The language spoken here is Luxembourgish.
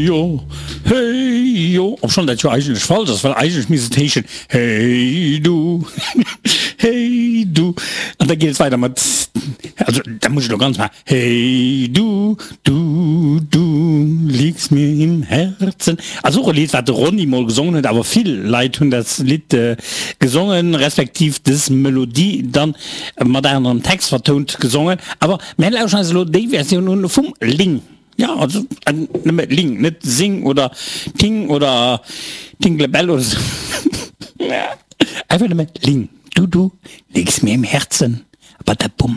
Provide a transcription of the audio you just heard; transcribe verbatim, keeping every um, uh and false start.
Jo, hey jo, obschonn dat jo eigentlech falsch ass, well eigentlech misst et heeschen, Hey du, hey du. An da geet et weider mat, also da muss ech elo ganz maachen, Hey du, du, du liegst mir im Herzen. Ass och e Lidd, wat de Ronny mol gesongen huet, awer vill Leit hunn dat Lidd gesongen, respektiv dës Melodie dann mat anerem Text vertount gesongen. Awer mär lauschen eis elo déi Versioun un vum Ling. Jo, also nëmme Ling, net Sing oder Ting oder Tinglebell oder sou. Einfach nëmme Ling. Du, du liegst mir im Herzen. Badabum.